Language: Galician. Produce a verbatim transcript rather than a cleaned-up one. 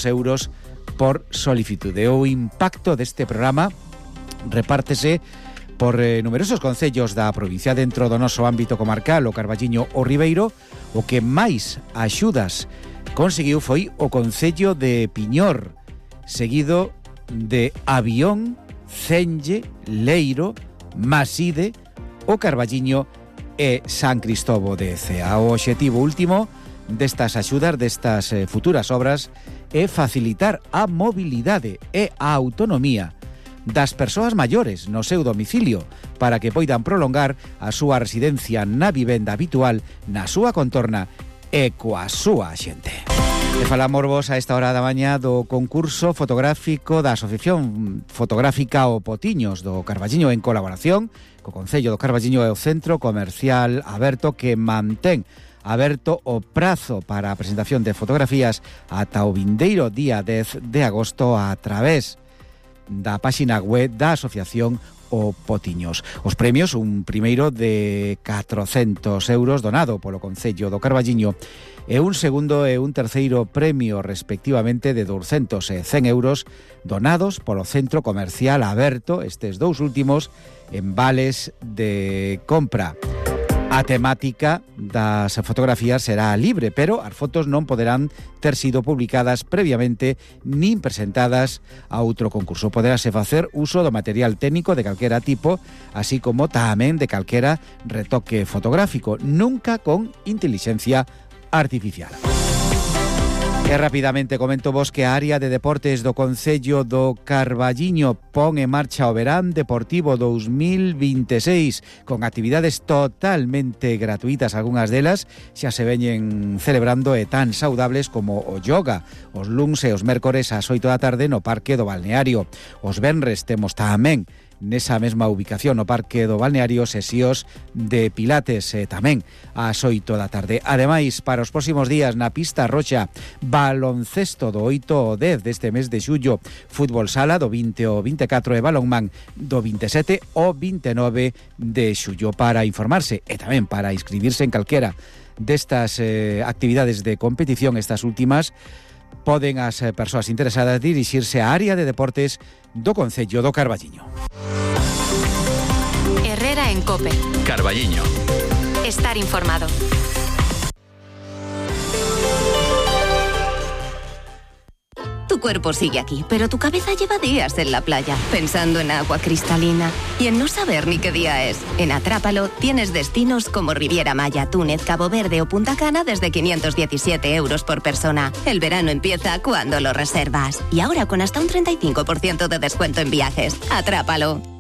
euros por solicitude. O impacto deste programa repártese por eh, numerosos concellos da provincia dentro do noso ámbito comarcal, o Carballiño o Ribeiro. O que máis axudas conseguiu foi o concello de Piñor, seguido de Avión, Cenge, Leiro, Maside, o Carballiño e San Cristovo de Cea. O obxectivo último destas axudas, destas eh, futuras obras, é facilitar a mobilidade e a autonomía das persoas maiores no seu domicilio para que poidan prolongar a súa residencia na vivenda habitual, na súa contorna e coa súa xente. E falamos vos a esta hora da mañá do concurso fotográfico da Asociación Fotográfica O Potiños do Carballiño, en colaboración co Concello do Carballiño e o Centro Comercial Aberto, que mantén aberto o prazo para a presentación de fotografías ata o vindeiro día dez de agosto a través da páxina web da Asociación O Potiños. Os premios, un primeiro de catrocentos euros donado polo Concello do Carballiño e un segundo e un terceiro premio respectivamente de douscentos e cen euros donados polo Centro Comercial Aberto, estes dous últimos en vales de compra. A temática das fotografías será libre, pero as fotos non poderán ter sido publicadas previamente nin presentadas a outro concurso. Poderase facer uso do material técnico de calquera tipo, así como tamén de calquera retoque fotográfico, nunca con intelixencia artificial. E rapidamente comento vos que a área de deportes do Concello do Carballiño pon en marcha o Verán Deportivo dous mil vinte e seis con actividades totalmente gratuitas, algunhas delas xa se veñen celebrando e tan saudables como o yoga, os luns e os mércores ás oito da tarde no Parque do Balneario. Os venres temos tamén nesa mesma ubicación no Parque do Balneario sesións de pilates e tamén ás oito da tarde. Ademais, para os próximos días na pista roxa, baloncesto do oito ao dez deste mes de xullo, fútbol sala do vinte ao vinte e catro e balonmán do vinte e sete ao vinte e nove de xullo. Para informarse e tamén para inscribirse en calquera destas eh, actividades de competición, estas últimas, poden as persoas interesadas dirixirse á área de deportes do Concello do Carballiño. Herrera en COPE. Carballiño. Estar informado. Tu cuerpo sigue aquí, pero tu cabeza lleva días en la playa, pensando en agua cristalina y en no saber ni qué día es. En Atrápalo tienes destinos como Riviera Maya, Túnez, Cabo Verde o Punta Cana desde quinientos diecisiete euros por persona. El verano empieza cuando lo reservas. Y ahora con hasta un treinta y cinco por ciento de descuento en viajes. Atrápalo.